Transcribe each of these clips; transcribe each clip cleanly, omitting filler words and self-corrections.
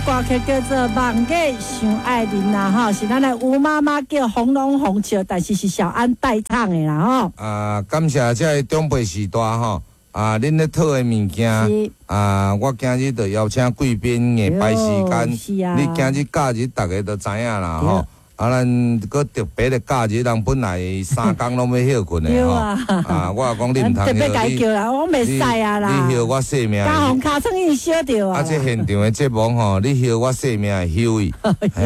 歌曲叫做《望月想愛人》啦，吼，是咱的吳媽媽叫紅龍紅笑，但是是小安代唱的啦，吼。啊，感謝這个長輩時代吼，啊，恁咧討的物件，啊，我今日就邀請貴賓硬排時間，你今日假日逐家都知影啦，吼。啊，咱閣特別的假日，人本來三工攏欲歇睏的吼。啊，我講你毋通特別共伊叫啦，我袂使啊啦。你歇我性命。加予尻川已經燒著啊。啊，這現場的節目吼，你歇我性命會休去。休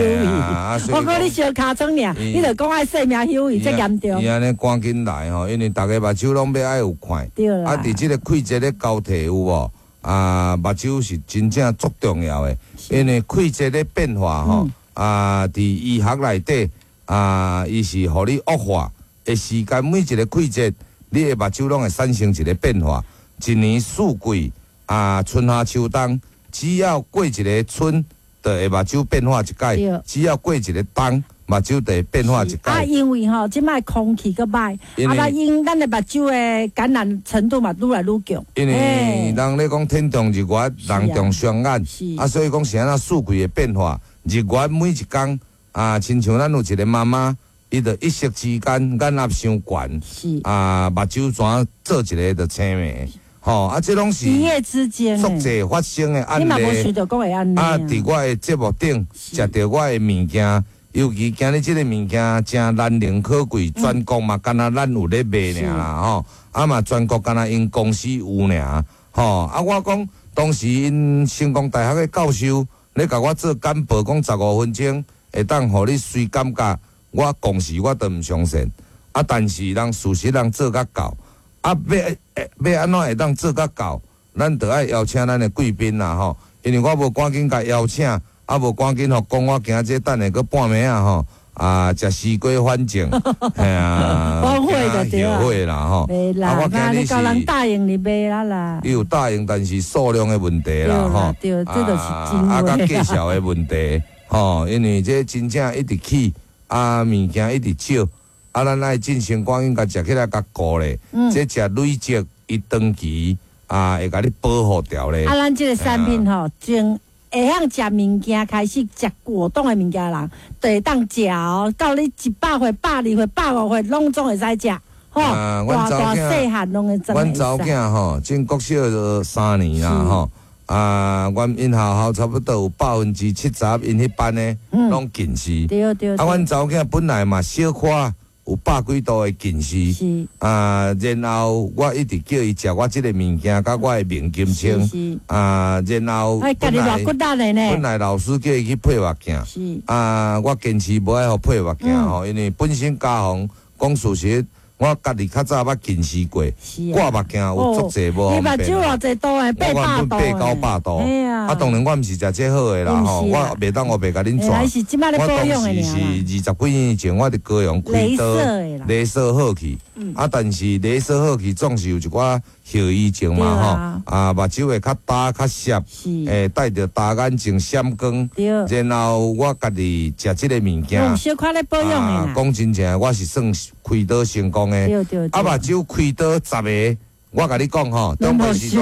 去。我講你燒尻川爾，你就講愛性命休去，這嚴重。伊按呢趕緊來吼，因為逐家目睭攏欲愛有看。對啦。啊，佇這個季節咧交替有無？啊，目睭是真正足重要的，因為季節咧變化吼。啊，佇醫學內底啊，伊是予你惡化的時間，每一個季節，你的目睭攏會產生一個變化。一年四季啊，春夏秋冬，只要過一個春，就會目睭變化一擺；只要過一個冬，目睭就會變化一擺。啊，因為吼，這擺空氣閣歹，啊，咱因咱的目睭的感染程度嘛，愈來愈強。因為人咧講天長日月，人長雙眼，啊，所以講是按怎四季的變化。日月每一工啊，親像咱有一個媽媽，伊就一息之間眼壓傷懸，啊，目睭怎做一个就青眉，吼啊，這攏是一夜之間足濟發生的案例。啊，佇我的節目頂食著我的物件，尤其今日這個物件誠難能可貴，全國嘛敢若咱有咧賣爾啦，吼，啊嘛全國敢若𪜶公司有爾，吼啊，我講當時𪜶成功大學的教授，你共我做簡報，講15分鐘，會當予你隨感覺，我講時我都毋相信。啊，但是人事實人做甲到，啊，欲按怎會當做甲到？咱著愛邀請咱的貴賓啦吼，因為我無趕緊共邀請，啊無趕緊予講，我驚這等下閣半暝仔吼，啊，食西瓜反正，嘿啊，後悔就對後悔啦吼。袂啦，啊，我驚你是人答應你袂啦啦。伊有答應，但是數量的問題啦吼。對，這就是真啊，佮介紹的問題吼，因為這真正一直起，啊，物件一直少，啊，咱愛進行趕緊共食起來，共顧咧。這食累積，伊長期啊會共你保護掉咧。啊，咱這個產品吼，從會曉食物件開始食果凍的物件人，就會當食哦。到你100歲、120歲、105歲，攏總會使食。吼，大大細漢攏會阮查某囝吼，進國小3年啦吼。啊，阮𪜶學校差不多有70%，𪜶彼班的攏近視。啊，阮查某囝本來嘛小可有百幾度的近視。啊，然後我一直叫伊食我這個物件，佮我的明金清。啊，然後本來老師叫伊去配目鏡。啊，我堅持無愛予配目鏡吼，因為本身家訪講事實，我家己較早捌近視過，掛目鏡有足濟無方便。你目睭偌濟度的？我原本八九百度，啊，當然我毋是食這好的啦吼，我袂當烏白共恁傳。我當時是20幾年前，我佇高雄開刀，雷射好去，啊，但是雷射好去總是有一寡後遺症嘛吼，啊，目睭會較焦較澀，會戴著大眼鏡閃光，然後我家己食這個物件，小可咧保養的。講真正，我是算開刀成功的。啊，目睭開刀10個，我共你講吼，長輩時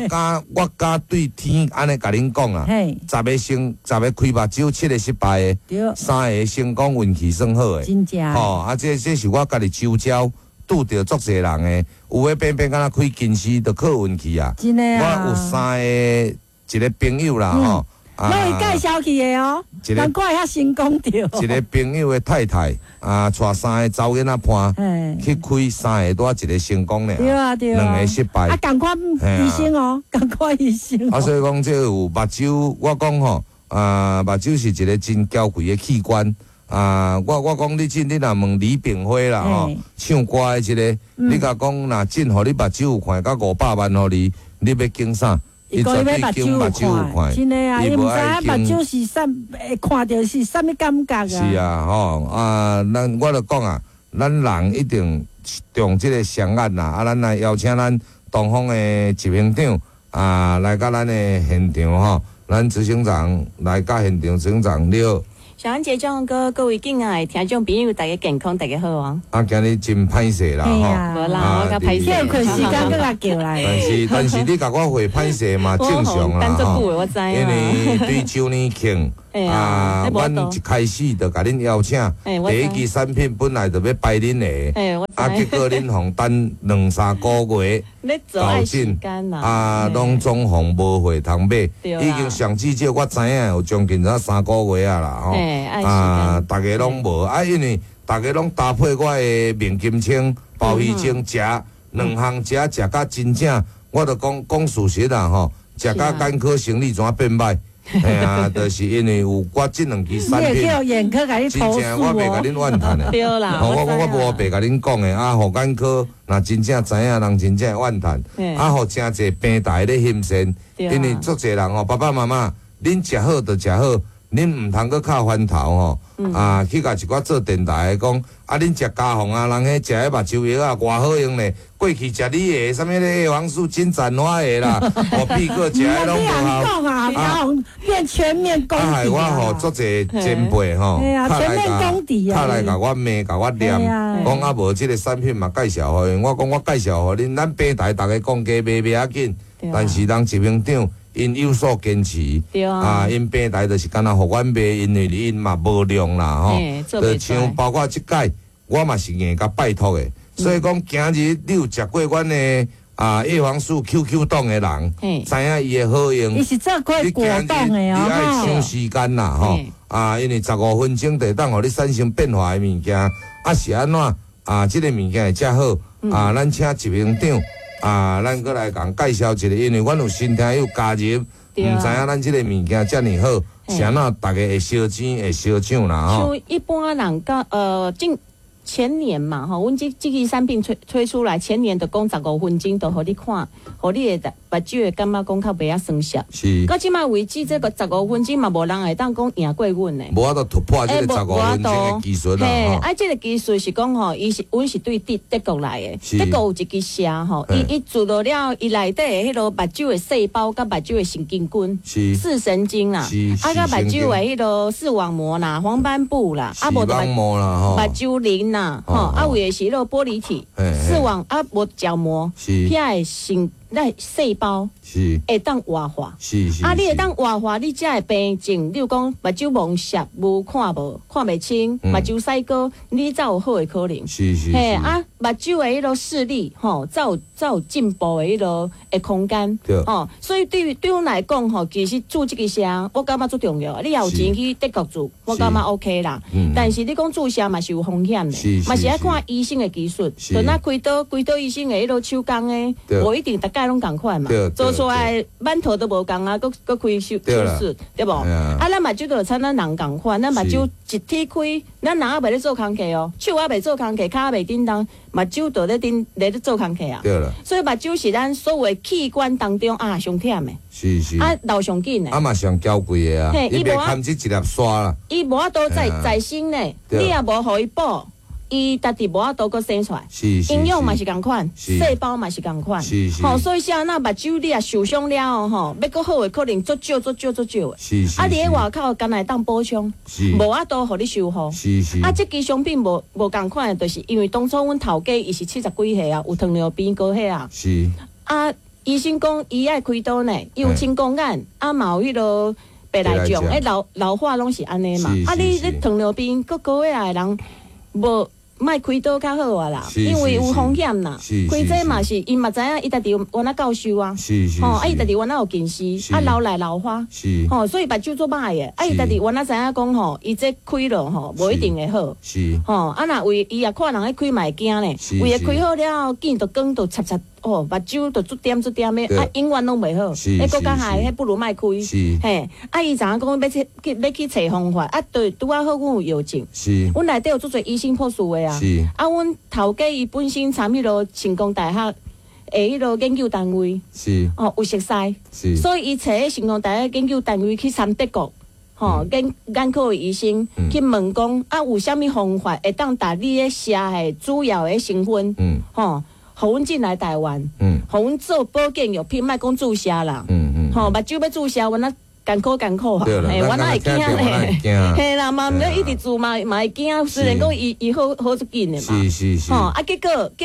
代，我敢對天按呢共恁講啊，十個成十個開目睭，七個失敗的，三個成功，運氣算好的。真正。吼，啊，這是我家己周遭拄著足濟人的，有的偏偏敢若開近視，就靠運氣啊。真的啊。我有三個一個朋友啦吼。攏會介紹去的哦，難怪遐成功著。一個朋友的太太啊，帶三個查某囡仔伴去開三個，拄仔一個成功爾，對啊對啊，兩個失敗。啊，仝款醫生哦，仝款醫生。啊，所以講這有目睭，我講吼啊，目睭是一個真嬌貴的器官啊。我講你這，你若問李炳輝啦吼，唱歌的這個，你共講若真予你目睭有看，佮500萬予你，你欲揀啥？伊講伊欲目睭有看，真的啊！伊毋知影目睭是啥，會看著是啥物感覺啊？是啊，吼啊！咱我就講啊，咱人一定重這個雙眼啦。啊，咱來邀請咱東方的執行長啊，來佮咱的現場吼，咱執行長來佮現場執行長你好。小安姐、張哥，各位敬愛的聽眾朋友，大家健康，大家好啊！啊，今日真歹勢啦，吼，無啦，我較歹勢，休睏時間閣共叫來。但是你共我回歹勢嘛，正常啦，吼。我知因為對周年慶啊，阮一開始就共恁邀請，第一支產品本來就欲排恁的，啊，結果恁予等兩三個月，到陣啊，攏總予無貨通買，已經上至少我知影有將近才3個月啊啦，吼。啊！逐家攏無啊，因為逐家攏搭配我的面金清、鮑魚精食兩項食，食甲真正，我著講講事實啦吼，食甲眼科生理怎變歹？嘿啊，就是因為有我這兩支產品，真正我袂共恁怨嘆的。對啦，我無白共恁講的啊，予眼科若真正知影人真正會怨嘆，啊，予誠濟平台咧欣羨，因為足濟人吼，爸爸媽媽，恁食好就食好。恁毋通閣敲翻頭吼，啊，去共一寡做電台的講，啊，恁食家鳳啊，人彼食彼目睭藥啊，偌好用咧。過去食你的，啥物咧葉黃素金盞花的啦，我必閣食彼攏無效。啊，家鳳變全面攻敵啊！啊，害我吼足濟前輩吼，全面攻敵啊！較來共我罵，共我念，講啊無這个產品嘛介紹予𪜶，我講我介紹予恁，咱平台逐家講價賣袂要緊，但是人執行長。𪜶有所堅持，啊，𪜶平台就是干焦予阮賣，因為𪜶嘛無量啦，吼，就像包括這擺，我嘛是硬共拜託的，所以講今日你有食過阮的啊葉黃素 QQ 凍的人，知影伊的好用。伊是做過果凍的哦，你愛搶時間啦，吼，啊，因為15分鐘就會當予你產生變化的物件，啊是按怎啊？這个物件會遮好啊？咱請執行長。啊，咱閣來共介紹一下，因為阮有新聽友加入，毋知影咱這个物件遮爾好，是按怎逐家會相爭會相搶啦吼。像一般人講，近前年嘛，吼，阮這支產品推出來，前年就講15分鐘就予你看，予你的目睭會感覺講較袂遐酸澀。是。到這擺為止，這个十五分鐘嘛，無人會當講贏過阮的。無法度突破這个十五分鐘的技術啦。嘿，啊，這个技術是講吼，伊是阮是對德國來的，德國有一支射吼，伊做落了，伊內底的彼个目睭的細胞佮目睭的神經根，視神經啦，啊，佮目睭的彼个視網膜啦、黃斑部啦，啊，無膜啦，目睭鱗啦，吼，啊，有的是彼个玻璃體、視網啊，無角膜，遐的神。那細胞會當活化，啊，你會當活化，你才會病症。例如講目睭蒙澀，無看無，看袂清，目睭屎膏，你才有好的可能。嘿，啊，目睭的彼个視力，吼，才有進步的彼个的空間。吼，所以對阮來講，吼，其實注這个射，我感覺足重要。你也有錢去德國注，我感覺 OK 啦。但是你講注射嘛是有風險的，嘛是愛看醫生的技術。就若開刀，開刀醫生的彼个手工的，無一定逐擺攏仝款嘛，做出來饅頭都無仝啊，閣閣開手術，對無？啊，咱目睭就親咱人仝款，咱目睭一天開，咱人猶袂咧做工課哦，手猶袂做工課，跤猶袂振動，目睭就咧振咧做工課啊。對啦。所以目睭是咱所有器官當中啊上忝的。是是。啊，老上緊的。啊嘛上嬌貴的啊，伊袂堪這一粒沙啦。伊無法度再生呢，你也無予伊補。伊家己無法度閣生出來，營養嘛是仝款，細胞嘛是仝款，吼，所以啥那目睭你若受傷了後，吼，欲閣好的可能足少足少足少的。啊，佇咧外口干焦會當補充，無法度予你修復。啊，這支商品無仝款的，就是因為當初阮頭家伊是70幾歲啊，有糖尿病、高血壓。啊，醫生講伊愛開刀呢，伊有青光眼，啊嘛有彼个白內障，彼老化攏是按呢嘛。啊，你糖尿病閣高血壓的人，無。莫開刀較好啊啦，因為有風險啦。開這嘛是，伊嘛知影，伊家己原來教授啊，吼，啊伊家己原來有近視，啊老來老花，吼，所以目睭足歹的，啊伊家己原來知影講吼，伊這開了吼，無一定會好，吼，啊若為伊也看人咧開嘛會驚咧，為開好了後，見著光就插插。哦，目睭就足點足點的，啊，永遠攏袂好。彼閣較害，彼不如莫開。嘿，啊，伊知影講欲去揣方法，啊，對，拄仔好，阮有藥證。阮內底有足濟醫生博士的啊。啊，阮頭家伊本身參彼个成功大學的彼个研究單位。哦，有熟似。所以伊揣彼成功大學研究單位去參德國，吼，眼科的醫生去問講，啊，有啥物方法會當達你的射的主要的成分？吼。予阮進來台灣，予阮做保健藥品，莫講注射啦。吼，目睭欲注射，阮啊艰苦艰苦啊！嘿，我哪会惊咧？嘿啦，嘛毋免一直住嘛，嘛会惊。虽然讲伊伊好好足紧的嘛，是是是。吼啊，结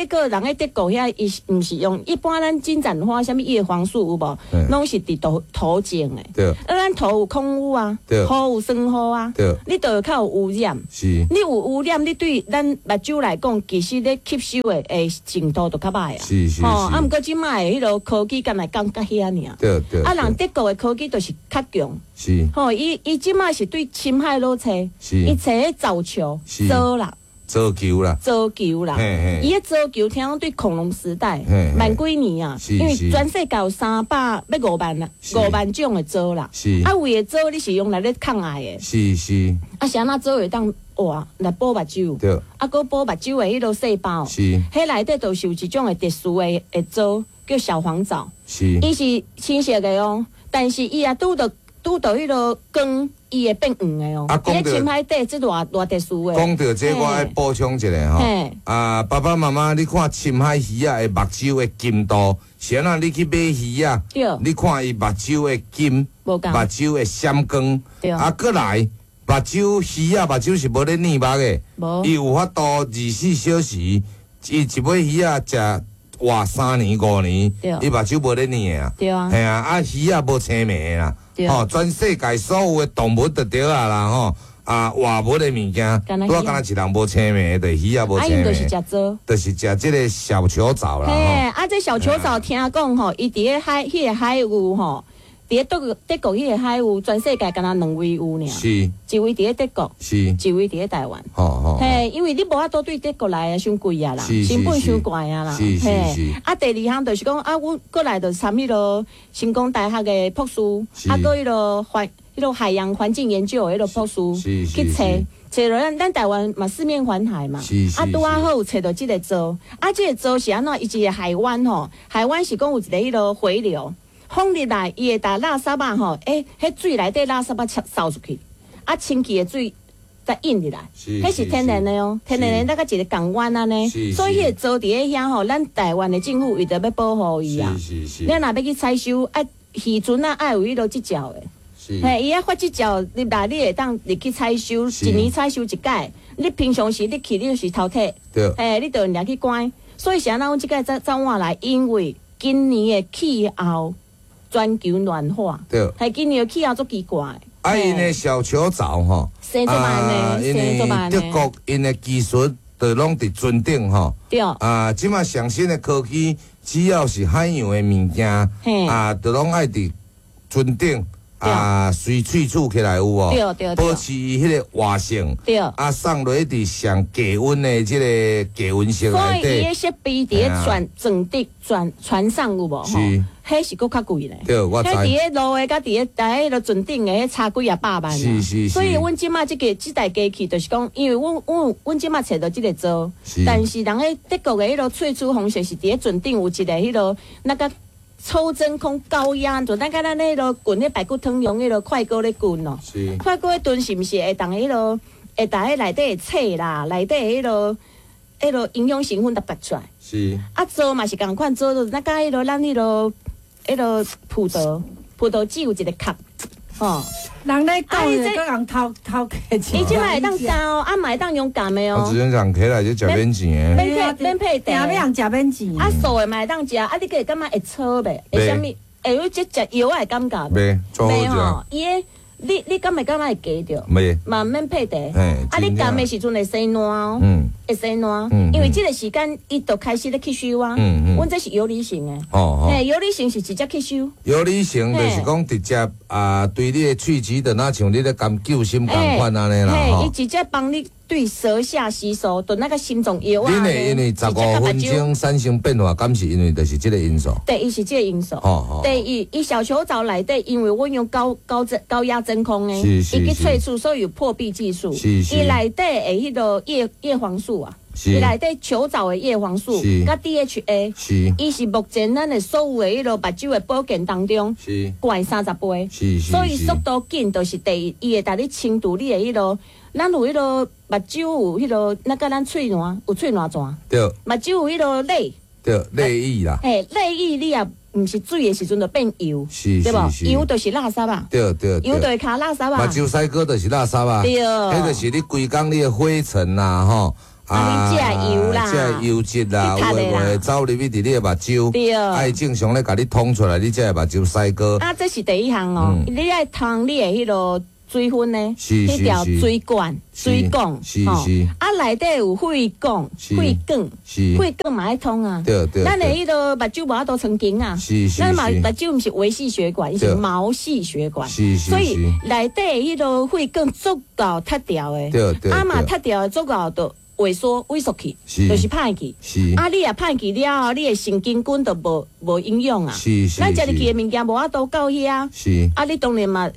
果人咧德国遐，伊毋是用一般咱金盏花，啥物叶黄素有无？攏是佇土土種的。對。啊，咱土有礦污啊，雨有酸雨啊，對。你就會較有污染。是。你有污染，你對咱目睭來講，其實咧吸收的的程度就較歹啊。是是。吼，啊，毋過這擺的彼个科技敢會講甲遐爾。對對。啊，人德國的科技就是較強，是，吼，伊這擺是對深海落揣，伊揣彼藻球，藻啦，藻球啦，藻球啦，伊彼藻球聽講對恐龍時代萬幾年啊，因為全世界有300欲5萬啦，5萬種的藻啦，啊，有的藻你是用來咧抗癌的，是是，啊，是按怎藻會當活來補目睭，對，啊，閣補目睭的彼个細胞，是，彼內底就是有一種的特殊的的藻，叫小黃藻，是，伊是青色的哦。但是伊也拄著拄著彼个光，伊會變黃的哦。啊，講著深海底這偌偌特殊的。講著這，我愛補充一下吼。啊，爸爸媽媽，你看深海魚仔的目睭的金度，是按怎？你去買魚仔，你看伊目睭的金，目睭的閃光，啊，閣來目睭魚仔目睭是無咧膩目的，伊有法度24小時，伊一尾魚仔食活3年5年，伊目睭無咧膩的啊，嘿啊，啊魚仔無青眉的啦，吼，全世界所有的動物就對啊啦吼，啊活物的物件，拄仔敢若一人無青眉，就是魚仔無青眉，就是食藻，就是食這个小球藻啦。嘿，啊，這小球藻聽講吼，伊佇咧海，彼个海域吼，佇咧德國彼个海域，全世界敢若兩位有爾，是，一位佇咧德國，是，一位佇咧台灣。嘿，因為你無法度對德國來啊，傷貴啊啦，成本傷懸啊啦。是是是。啊，第二項就是講啊，阮過來就參彼个成功大學的博士，啊，閣彼个環彼个海洋環境研究的彼个博士去揣，揣著咱台灣嘛四面環海嘛，啊，拄仔好有揣著這个藻，啊，這个藻是按怎？伊一个海灣吼，海灣是講有一个彼个回流。風入來，伊會共垃圾仔吼，欸，彼水內底垃圾仔掃出去，啊，清氣的水再引入來，彼是天然的哦，天然的那個一個港灣按呢，所以彼个藻佇咧遐吼，咱台灣的政府為著欲保護伊啊，咱若欲去採收，啊，漁船仔愛有彼落執照的，嘿，伊愛發執照入來，你會當入去採收，一年採收一擺，你平常時你去，你就是偷摕，嘿，你就掠去關，所以是按怎阮這擺走換來，因為今年的氣候。全球暖化，對，係今年氣候足奇怪。啊，𪜶的小球藻吼，啊，因為德國𪜶的技術就攏佇船頂吼。對。啊，這馬上新的科技，只要是海洋的物件，啊，就攏愛佇船頂啊，隨萃取起來有無？對對對。保持伊彼个活性。對。啊，送落去佇上低溫的這个低溫室內底。所以伊的設備佇咧船船底船船上有無？是。彼是閣較貴咧，對，我知。彼佇咧路的，佮佇咧佇彼个船頂的，彼差幾仔百萬。是是是。所以阮這擺這个這台機器，就是講，因為阮這擺揣著這个藻，但是人咧德國的彼个萃取方式是佇咧船頂有一个彼个那个抽真空高壓，就咱佮咱彼个滾彼排骨湯用彼个快鍋咧滾哦。是。快鍋燉是毋是會當彼个會共彼內底的刺啦，內底彼个彼个營養成分都拔出來。是。啊，藻嘛是仝款，藻就咱佮彼个咱彼个。彼个葡萄籽有一个殼，吼。人咧講的，閣共偷偷摕錢。伊這擺會當加哦，啊嘛會當用鹹的哦。我之前講起來就食免錢的。免配定欲人食免錢。啊，素的嘛會當食，啊，你閣會感覺會臭袂？會啥物？會有這食藥仔的感覺袂？袂吼，伊的你敢會感覺會加著？袂。嘛毋免配茶。啊，你含的時陣會生爛哦。會生爛。因為這個時間伊就開始咧吸收啊。阮這是游離型的。哦。嘿，游離型是直接吸收。游離型就是講直接啊，對你的喙齒就若像你咧含救心仝款按呢啦。嘿，伊直接幫你對舌下吸收，就那個心臟藥啊。恁會因為15分鐘產生變化，敢是因為就是這個因素？第一是這個因素。哦。第二，伊小球藻內底，因為阮用高壓真空的，伊去萃取，所以有破壁技術。是。伊內底的彼个葉黃素啊，伊內底球藻的葉黃素，佮 DHA，伊是目前咱的所有的彼个目睭的保健當中，懸30倍。是。所以速度緊，就是第一，伊會共你清除你的彼个，咱有彼个目睭有彼个，那佮咱喙瀾有喙瀾泉。對。目睭有彼个淚。對，淚液啦。嘿，淚液你也毋是水的時陣就變油，對無？油就是垃圾啊，對對，油就會卡垃圾啊。目睭屎膏就是垃圾啊，對，彼就是你規工你的灰塵啦，吼。啊，你食油啦，食油脂啦，有的無的走入去佇你的目睭，對，啊，伊正常咧，共你通出來，你才會目睭屎膏。啊，這是第一項哦，你愛通你的彼个水分呢，彼條水管、水管，是是。啊，內底有血管、血管，血管嘛愛通啊。對對。咱的彼个目睭無法度成筋啊，咱目睭毋是微細血管，伊是毛細血管，是是。所以內底彼个血管足夠脫掉的，對對。啊嘛脫掉的足夠就萎縮萎縮去，就是歹去。啊，你若歹去了後，你的神經根就無營養啊。是是。咱食入去的物件無法度到遐。是。啊，你當然嘛，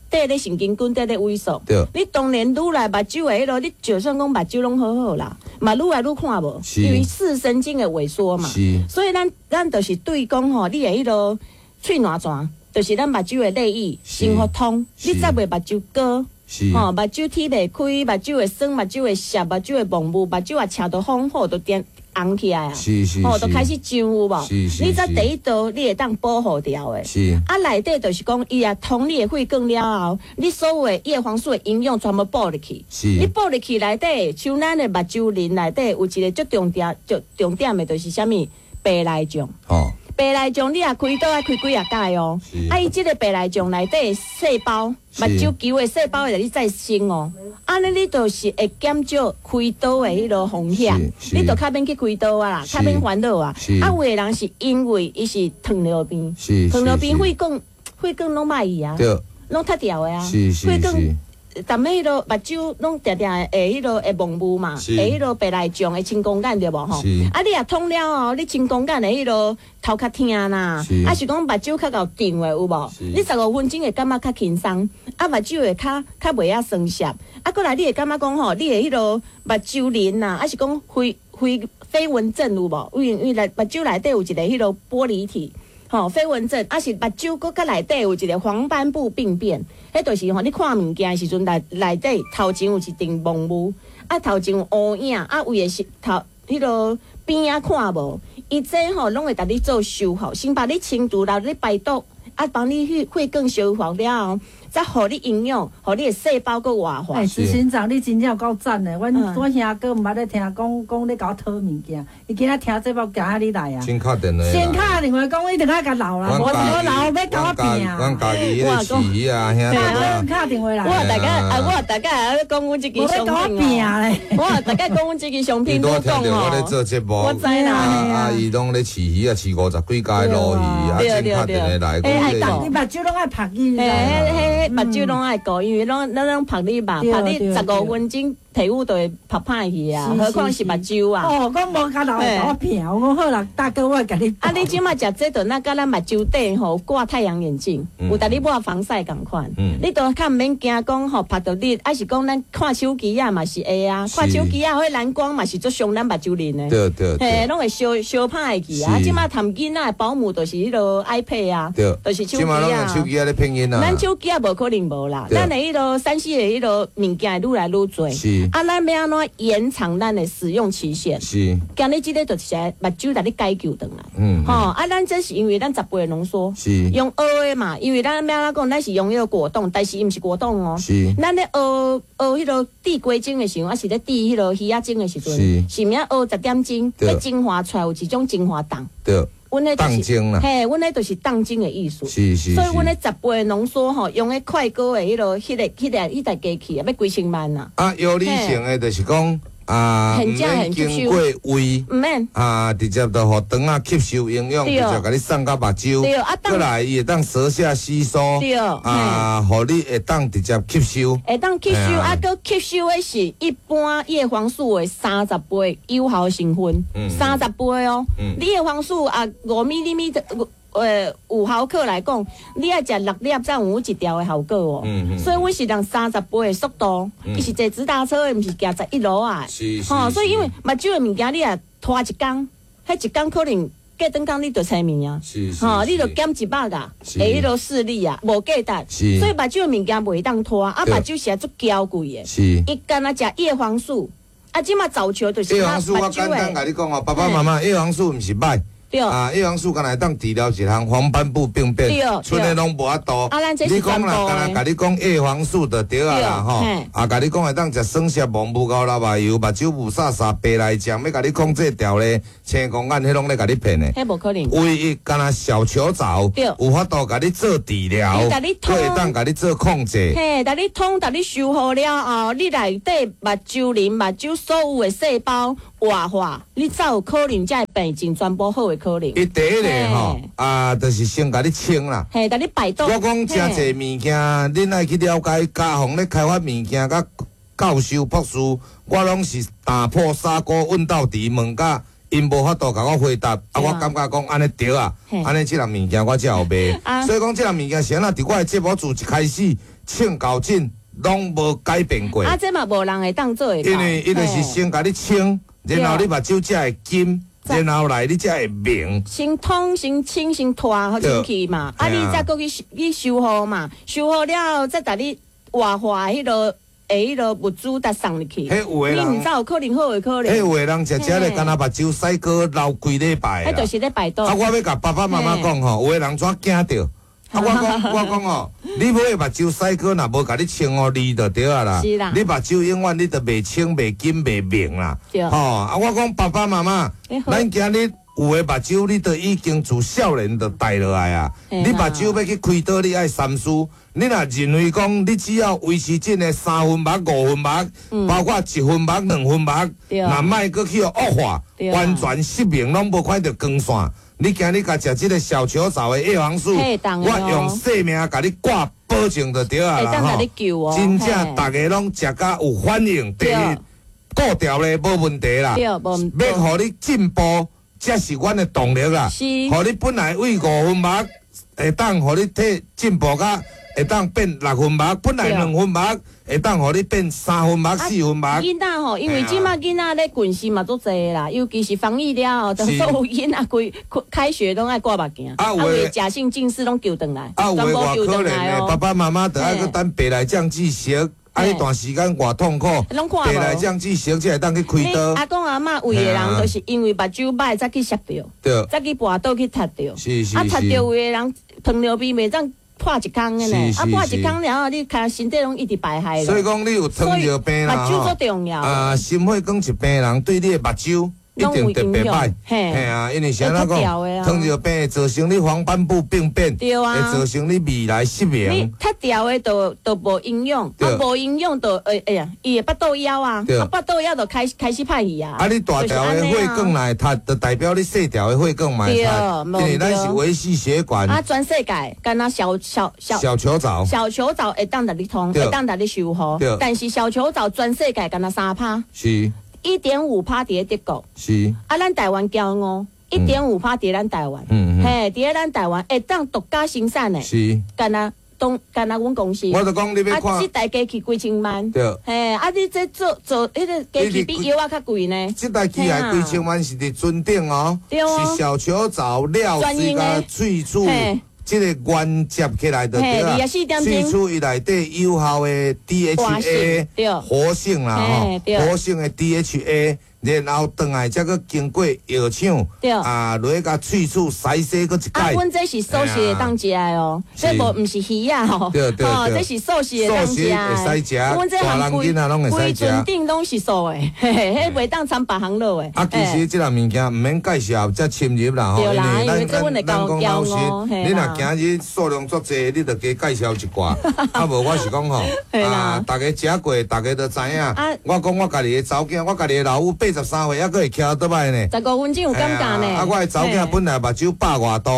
綴咧神經根綴咧萎縮。對。你當然愈來目睭的彼落，你就算講目睭攏好好啦，嘛愈來愈看無，因為視神經的萎縮嘛。是。所以咱就是對講吼，你的彼落喙瀾泉，就是咱目睭的淚液先予通，你才袂目睭乾。吼，目睭睇袂開，目睭會酸，目睭會澀，目睭會蒙霧，目睭也赤到風火都變紅起來啊！吼，就開始脹有無？你這第一道你會當保護掉的。是。啊，內底就是講，伊也通你的血管了後，你所有的葉黃素的營養全部補入去。是。你補入去內底，像咱的目睭仁內底有一個足重點、足重點的，就是啥物白內障。哦。白內障你若開刀愛開幾仔改哦。啊，伊這個白內障內底細胞，目睭球的細胞會來你再生哦。按呢你就是會減少開刀的彼落風險，你就較免去開刀啊啦，較免煩惱啊。啊，有的人是因為伊是糖尿病，糖尿病血管血管攏歹去啊，攏脫掉的啊，血管。逐暝彼落目睭攏定定會彼落會蒙霧嘛，會彼落白內障會青光眼對無吼？啊，你若通了後，你青光眼的彼落頭較疼啦，啊是講目睭較𠢕脹的有無？你15分鐘會感覺較輕鬆，啊目睭會較袂遐酸澀，啊閣來你會感覺講吼，你的彼落目睭仁啊，啊是講飛蚊症有無？因為內目睭內底有一個彼落玻璃體。吼，飛蚊症，啊是目睭閣較內底有一個黃斑部病變，彼就是吼，你看物件的時陣內底頭前有一陣蒙霧，啊頭前有烏影，啊有的是頭彼落邊仔看無，伊這吼攏會共你做修復，先把你清除，然後你排毒，啊幫你血管修復了後，才予你營養，予你的細胞閣活化。欸，執行長，你真正有夠讚的！阮兄哥毋捌咧聽講講咧共我討物件，伊今仔聽這目行遐你來啊。先敲電話。先敲電話講，一定愛共留啦，無無留欲共我拼。阮家己彼個飼魚啊，兄弟。敲電話來。我大概啊，我大概講阮這支商品哦。我大概講阮這支商品都講哦。我咧做節目，我知啦。啊，伊攏咧飼魚啊，飼50幾家鱸魚，啊，先敲電話來。欸，你目睭攏愛曝伊。嘿，目睭攏愛顧，因為攏咱攏曝你目，曝你15分鐘，皮膚就會曝歹去啊，何況是目睭啊。哦，我無共留會共我拼，我講好啦，大哥，我會共你。啊，你這馬食這頓，那佮咱目睭底吼掛太陽眼鏡，有共你抹防曬仝款，你都較毋免驚講吼曝著你，抑是講咱看手機仔嘛是會啊，看手機仔彼藍光嘛是足傷咱目睭仁的。對對。嘿，攏會燒歹去啊！這馬談囡仔的保姆就是彼落 iPad 啊，就是手機啊。手機仔咧騙囡仔。咱手機仔無可能無啦，咱的彼落3C 的彼落物件會愈來愈濟。是。啊，咱欲按怎延長咱的使用期限？是。今日這个就是目睭共你解救轉來。嗯。吼，啊，咱這是因為咱10倍濃縮。是。用學的嘛，因為咱欲按怎講，咱是用彼个果凍，但是伊毋是果凍哦。是。咱咧學彼落煮雞精的時陣，抑是咧煮彼落魚仔精的時陣，是。是毋是學10點鐘，彼精華出來有一種精華凍。對。阮彼就是凍精啦，嘿，阮彼就是凍精的意思。是是。所以阮彼10倍濃縮吼，用彼快高的彼落、彼個、彼個、彼台機器啊，欲幾千萬啊。啊，藥理性的就是講啊，毋免經過胃，毋免啊，直接就予腸仔吸收營養，直接共你送到目睭。對啊，閣來伊會當舌下吸收，對啊，予你會當直接吸收。會當吸收啊，閣吸收的是一般葉黃素的30倍有效成分，30倍哦。你葉黃素啊，5米5毫克來講，你愛食6粒才有一條的效果哦。所以阮是用30倍的速度，伊是坐直達車的，毋是行11路啊。吼，所以因為目睭的物件，你若拖一工，彼一工可能過轉工你就青面啊。吼，你就減一百啊，會彼落視力啊，無價值。所以目睭的物件袂當拖，啊，目睭是足嬌貴的。伊干焦食葉黃素，啊，這馬早球就是葉黃素，我簡單共你講哦，爸爸媽媽，葉黃素毋是歹。對。啊，葉黃素敢若會當治療一項黃斑部病變，賰的攏無法度。啊，咱這是你講啦，敢若共你講葉黃素就對啊啦，吼。啊，共你講會當食酸澀毛無夠啦嘛油，目睭霧煞煞白內障，欲共你講這條咧，青光眼彼攏咧共你騙的。彼無可能。唯一敢若小球藻，有法度共你做治療，閣會當共你做控制。嘿，共你通，共你修復了後，你內底目睭磷、目睭所有的細胞活化，你才有可能才會病情全部好的可能。伊第一个吼，啊，就是先共你清啦。嘿，共你排毒。我講誠濟物件，恁愛去了解，家訪咧開發物件，佮教授博士，我攏是打破砂鍋問到底，問甲𪜶無法度共我回答，啊，我感覺講按呢對啊，按呢這項物件我才有賣。所以講這項物件是按怎？佇我的節目自一開始，唱到盡攏無改變過。啊，這嘛無人會當做會到。因為伊就是先共你清，然後你目睭才會金。然後來你才會明。先通先清先脫好清氣嘛，啊，你再閣去去修復嘛，修復了後再共你活化彼个彼个物資再送入去。彼有的人，你毋知有可能好會可能。彼有的人食食咧，干焦目睭洗過流幾禮拜。彼就是咧排毒。啊，我欲共爸爸媽媽講吼，有的人怎驚著？啊，我講我講哦，你買的目睭洗膏若無共你清哦，膩就對啊啦。是啦。你目睭永遠你就袂清、袂金、袂明啦。對。吼，啊，我講爸爸媽媽，咱今日有的目睭，你都已經自少年就帶落來啊。你目睭欲去開刀，你愛三思。你若認為講，你只要維持這个三分目、五分目，包括一分目、兩分目，若莫閣去惡化，完全失明攏無看著光線。你今日共食這个小球藻的葉黃素，我用性命共你掛保證就對啊啦吼！真正逐个攏食甲有反應，第一顧條咧無問題啦，欲予你進步，才是阮的動力啦。予你本來為五分目會當予你體進步甲會當變六分目，本來兩分目會當予你變三分目、四分目。囡仔吼，因為這馬囡仔咧近視嘛足濟啦，尤其是防疫了後，所有囡仔規開學攏愛掛目鏡，啊有的假性近視攏救轉來，啊有的偌可憐的，爸爸媽媽著愛閣等白內障注射，啊，彼段時間偌痛苦，白內障注射才會當去開刀。阿公阿嬤有的人就是因為目睭歹才去摔著，才去跋倒去踢著，啊踢著有的人糖尿病袂當。破一空的呢，啊破一空了後，你看身體攏一直排害。所以講，你有糖尿病啦，目睭足重要。啊，心血管疾病人對你的目睭一定特別歹。嘿啊，因為啥那講，糖尿病會造成你黃斑部病變，對啊，會造成你未來失明。你脫掉的就無營養，啊無營養就會哎呀，伊會腹肚枵啊，啊腹肚枵就開始歹去啊。啊，你大條的血管來脫，就代表你細條的血管嘛會脫，因為咱是微細血管。啊，全世界敢若小球藻，小球藻會當共你通，會當共你修復，但是小球藻全世界敢若3%。是。1.5%佇咧德國，是啊，咱台灣驕傲，1.5%佇咱台灣，嘿，佇咧咱台灣會當獨家生產的，是，敢若當敢若阮公司，我就講你欲看，啊，這台機器幾千萬，對，嘿，啊，你這做做彼个機器比藥仔較貴呢，這台機械幾千萬是佇船頂哦，是小球藻料水佮萃取。這个原接起來就對啦，萃取伊內底有效的 DHA 活性啦吼，活性的 DHA，然後轉來才閣經過藥廠，啊，落去共萃取篩洗閣一擺。啊，阮這是素食會當食的哦，這無毋是魚仔吼，哦，這是素食會當食的。會使食，阮這大人囡仔攏會使食。規船頂攏是素的，嘿嘿，彼袂當摻別項落的。啊，其實這項物件毋免介紹遮深入啦吼，因為咱咱講老實，你若今日數量足濟，你就加介紹一寡。啊，無我是講吼，啊，逐家食過，逐家都知影。我講我家己的查某囝，我家己的老母83歲，猶閣會騎倒擺呢。15分鐘有感覺呢。啊，我的查某囝本來目睭百外度，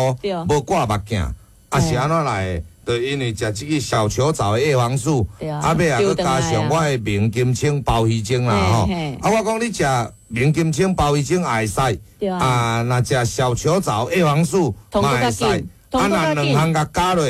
無掛目鏡，啊是按怎來的？就因為食這个小球藻的葉黃素，啊尾啊閣加上我的明金清鮑魚精啦吼。啊，我講你食明金清鮑魚精也會使，啊，若食小球藻葉黃素嘛會使，啊，若兩項共加落，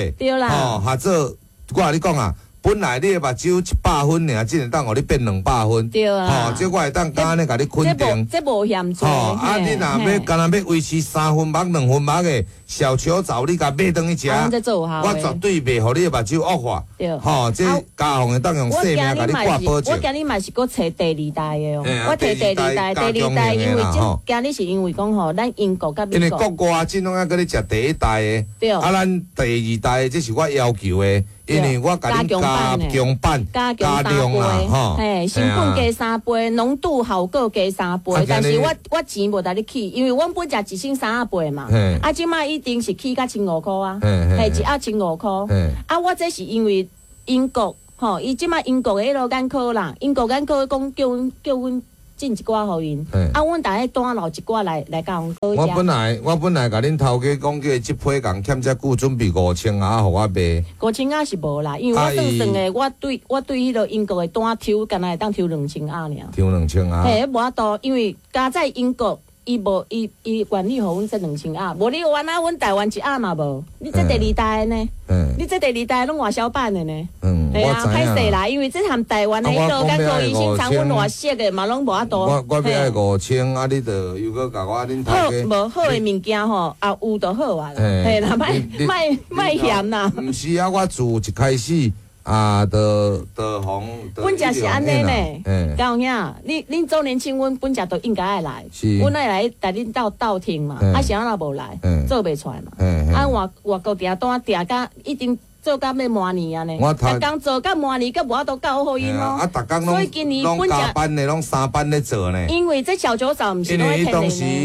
吼，合做我共你講啊。本來你的目睭100分爾，這會當予你變200分。對啊。吼，這我會當敢按呢共你肯定。這無嫌濟。吼，啊，你若欲敢若欲維持3分目、2分目的小球藻，你共買轉去食。我絕對袂予你的目睭惡化。對。吼，這家鳳會當用性命共你掛保證。我今日嘛是閣揣第二代的哦。我提第二代，第二代因為這今日是因為講吼，咱英國佮美國。因為國外這攏愛閣咧食第一代的。對。啊，咱第二代的這是我要求的。因為我共恁加強版、加量啦，吼，嘿，成本加3倍，濃度效果加3倍，但是我錢無共你起，因為阮本食一升3倍嘛，啊，這擺一定是起到1500啊，嘿，一盒1500，啊，我這是因為英國，吼，伊這擺英國的彼个眼科啦，英國眼科講叫阮進一寡予𪜶，啊，阮逐个單留一寡來共阮我本來共恁頭家講，叫這批人欠遮久，準備5000盒予我賣。5000盒是無啦，因為我算算的，我對彼个英國的單抽，敢若會當抽2000盒爾。抽2000盒。嘿，無法度，因為加在英國，伊無伊伊願意予阮這2000盒，無你原來阮台灣一盒嘛無。你這第二代的呢？你這第二代攏外銷版的呢？嗯，啊，歹勢啦，因為這含台灣的彼个眼科醫生產阮外色的嘛，攏無法度。我欲愛5000，啊，你著又閣共我恁頭家。好，無好的物件吼，啊有就好啊啦，嘿啦，莫嫌啦。毋是啊，我自一開始啊，就予。本食是按呢呢，高兄，恁周年慶，阮本食都應該愛來，阮愛來帶恁鬥聽嘛，啊是按怎無來，做袂出來嘛，啊外國訂單訂甲已經。做到欲滿年啊呢，逐工做到滿年，閣無法度交予𪜶咯。啊，逐工攏加班的，攏3班咧做呢。因為這小酒嫂毋是因為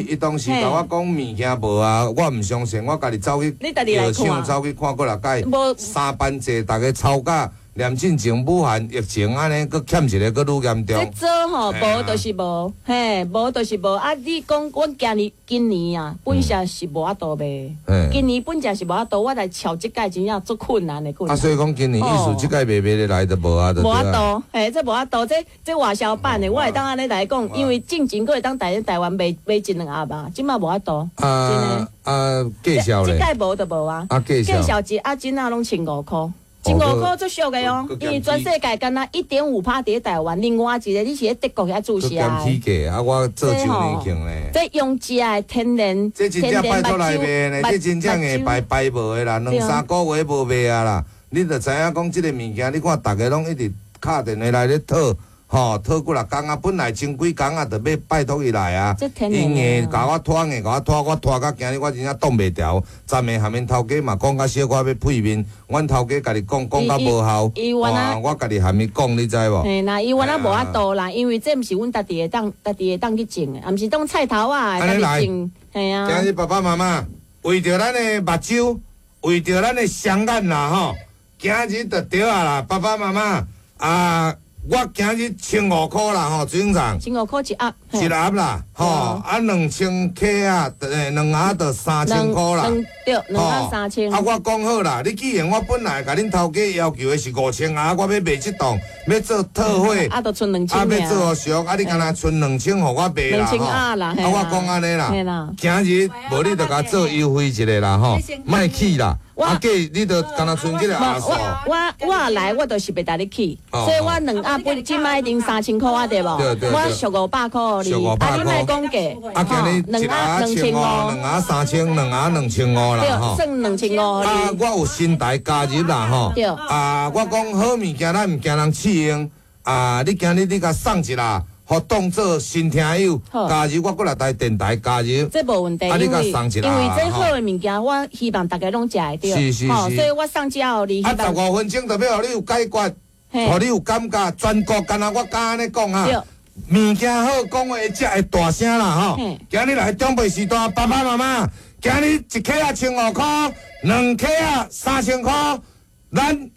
伊當時共我講物件無啊，我毋相信，我家己走去藥廠走去看過來解，3班制，逐家吵架。連進前武漢疫情按呢，閣欠一个，閣愈嚴重。這做吼無就是無，嘿，無就是無。啊，你講阮今年啊，本身是無法度賣。今年本身是無法度，我來撨這屆真正足困難的困難。啊，所以講今年意思這屆賣賣得來就無啊，就。無法度，嘿，這無法度，這外銷版的，我會當按呢來講，因為進前閣會當台灣賣一兩盒吧，這擺無法度。啊啊，介紹咧。這屆無就無啊。啊，介紹。介紹一盒真仔攏1500箍。15箍足俗的哦，因為全世界敢若1.5%佇台灣，另外一个你是咧德國遐注射的。起價啊！我做周年慶咧。這用食的天然，這真正拜託來賣呢，這真正會排排無的啦，2、3個月無賣啊啦。你就知影講這个物件，你看逐家攏一直敲電話來咧討。吼，討幾若工啊，本來前幾工啊，就欲拜託伊來啊，伊硬共我拖，硬共我拖，我拖到今日我真正擋袂牢。昨暝含𪜶頭家嘛講較小可欲配面，阮頭家家己講講較無效，哇，我家己含伊講，你知無？嘿啦，伊原來無法度啦，因為這毋是阮家己會當，家己會當去種的，毋是當菜頭啊，家己種。嘿啊。今日爸爸媽媽為著咱的目睭，為著咱的雙眼啦吼，今日就對啊啦，爸爸媽媽啊。我今日1500箍啦吼，执行長。1500箍一盒。一盒啦，吼，啊2000克啊，2盒就3000箍啦。對，2盒3000。啊，我講好啦，你既然我本來共恁頭家要求的是5000盒，我欲賣這檔，欲做特惠，啊，就賰2000啊，欲做俗，啊，你敢若賰2000予我賣啦，2000盒啦，啊，我講按呢啦，今日無你就共做優惠一下啦，吼，莫去啦。啊，計你就敢若賰這个盒數。我來，我就是袂帶你去，所以我2盒本這擺已經3000箍啊，對無？我俗500箍你，啊，你莫講價。啊，今日一盒1500，2盒3000，兩盒2500啦，吼。算2500。啊，我有新台加入啦，吼。對。啊，我講好物件，咱毋驚人試用。啊，你今日你共送一啦。予當做新聽友加入，我閣來台電台加入，這無問題，因為因為這好的物件，我希望大家攏食會著，是是是，所以我送這予你。啊，15分鐘就欲予你有解決，予你有感覺，全國敢若我敢按呢講啊，物件好，講話會食會大聲啦吼。今日來長輩時代，爸爸媽媽，今日一克仔1500箍，2克仔3000箍，咱。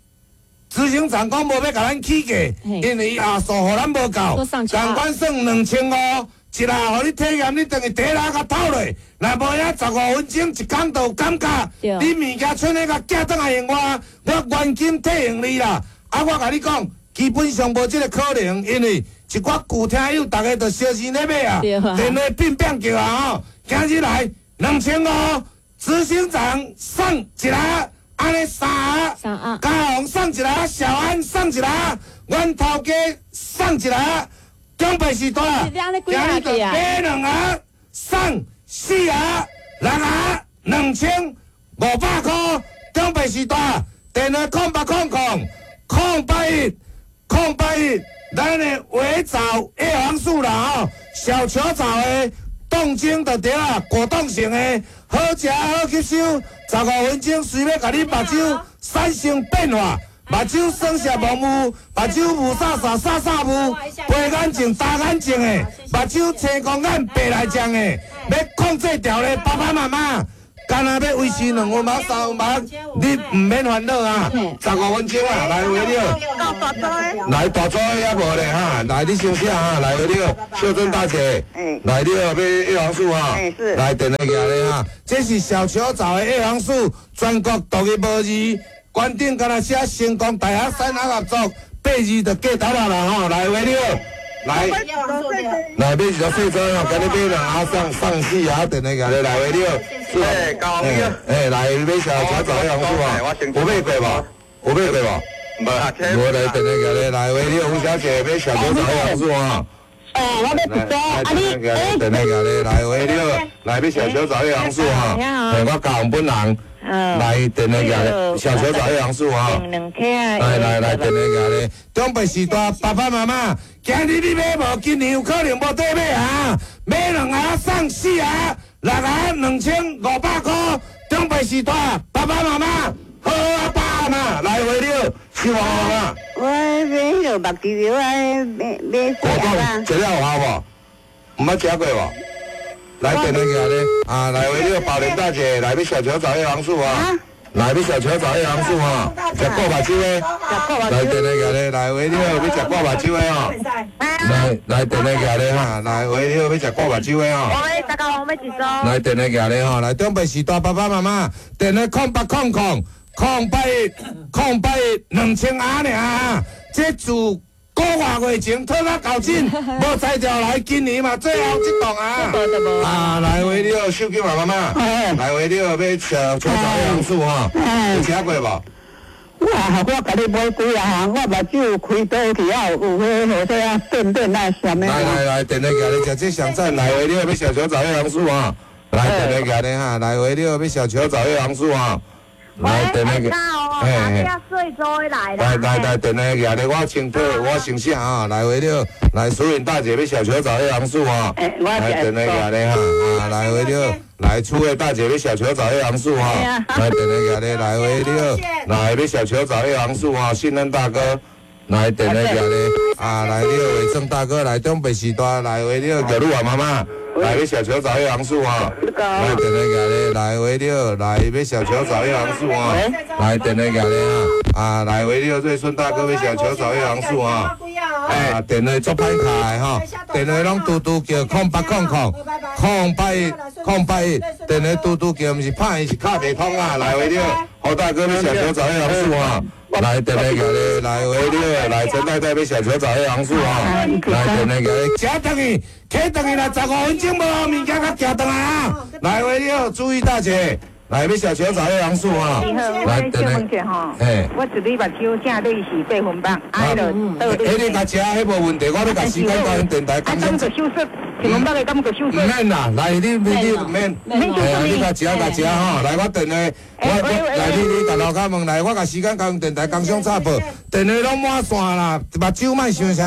執行長講無欲共咱起價，因為伊盒數予咱無夠，仝款算2500，一盒予你體驗，你轉去第一盒共透落，若無影15分鐘一工就有感覺。你物件剩咧共寄轉來予我，我原金退予你啦。啊，我共你講，基本上無這个可能，因為一寡舊聽友逐家都相信咧買啊，電話變變叫啊吼，今日來2500，執行長送一盒。按呢三盒，三盒。嘉宏送一盒，小安送一盒，阮头家送一盒，长辈时代，你按呢几盒去啊？买两盒送四盒，六盒2500块，长辈时代，电话0800 081 081，咱的微藻叶黄素啦吼，小球藻的冻精就对啦，果冻型的，好食好吸收，15分钟随欲共你目睭产生变化，目睭酸涩无雾，目睭雾煞煞煞煞雾，白眼症、大眼症的，目睭青光眼、白内障的，欲控制牢咧，爸爸妈妈。干焦欲维持两分目、三分目，你毋免烦恼啊！15分钟啊，来回了。来大组的犹无咧哈，来你先写哈，来回了，秀珍大姐，来你欲买叶黄素哈，来电话寄咧哈，这是小球藻的叶黄素，全国独一无二，关顶干焦写成功大学产学合作，八字就过头啦啦吼，来回了。来，来买一个细装哦，今日买两盒送送四盒，电话寄咧来回了。哎，高哎，来买小小枣叶黄素啊，有买过无？有买过无？无啊，无来电话寄咧，来回了，吴小姐买小球藻叶黄素啊。哦，我欲一组，啊你，电话寄咧，来回了，来买小球藻叶黄素哈。哎，我高雄本人。来电话寄咧，小球藻叶黄素哈。来来来，电话寄咧，长辈时代爸爸妈妈，今日你买无，今年有可能无得买啊！买两盒送四盒，六盒2500块。长辈时代爸爸妈妈，好啊爸阿妈，来回了，是无啊？我买彼个目睭药啊，买买果冻，食了有效无？毋捌食过无？来电话寄咧，啊，来喂，你好，宝莲大姐，来欲小球藻叶黄素啊，来欲小球藻叶黄素啊，食顾目睭的，来电话寄咧，来喂，你好，欲食顾目睭的哦，来来电话寄咧哈，来喂，你好，欲食顾目睭的哦。我大家好，我欲一组。来电话寄咧吼，来长辈时代爸爸妈妈，电话0800 081 081 2000盒尔，这自个外月前退到旧诊，无才调来，今年嘛最后这档啊！啊，来喂你好，秀金妈妈，来喂你好，欲小球藻叶黄素哈，有食过无？我我共你买几啊项，我目睭开刀去啊，有彼号说啊变变啊啥物？来来来，电话寄咧，食这上赞，来喂你好，欲小球藻叶黄素哈，来电话寄咧哈，来喂你好，欲小球藻叶黄素哈。来，电话寄，嘿，来来来来，电话寄咧，我先退，我先写啊。来喂了，来淑颖大姐欲小球藻叶黄素哈，来电话寄咧哈，啊来喂了，来楚慧大姐欲小球藻叶黄素哈，来电话寄咧，来喂了，来欲小球藻叶黄素哈，信任大哥，来电话寄咧，啊来了伟正大哥来长辈时代来喂了，叫你妈妈。来欲小球藻叶黄素哈，来电话寄咧，来喂了，来欲小球藻叶黄素哈，来电话寄咧哈，啊来喂了，瑞顺大哥欲小球藻叶黄素哈，啊电话足歹敲的吼，电话拢拄拄叫0800 081 081，电话拄拄叫，毋是拍伊是敲袂通啊，来喂了，胡大哥欲小球藻叶黄素哈。来电话寄咧，来喂你，来陈太太欲小球藻叶黄素哈，来电话寄咧，食转去，起转去啦，15分钟无物件较寄转来啊！来喂你好，注意大姐，来欲小球藻叶黄素哈，来电话，嘿，我一日目睭正对是八分目，啊，彼个，彼你共食，彼无问题，我欲共时间交电台。啊，敢阁手术？一分目的敢阁手术？毋免啦，来你你毋免，嘿啊，你共食共食吼，来我电话，我我来你你共楼跤问来，我共时间交电台工商插播，电话拢满线啦，目睭莫伤啥。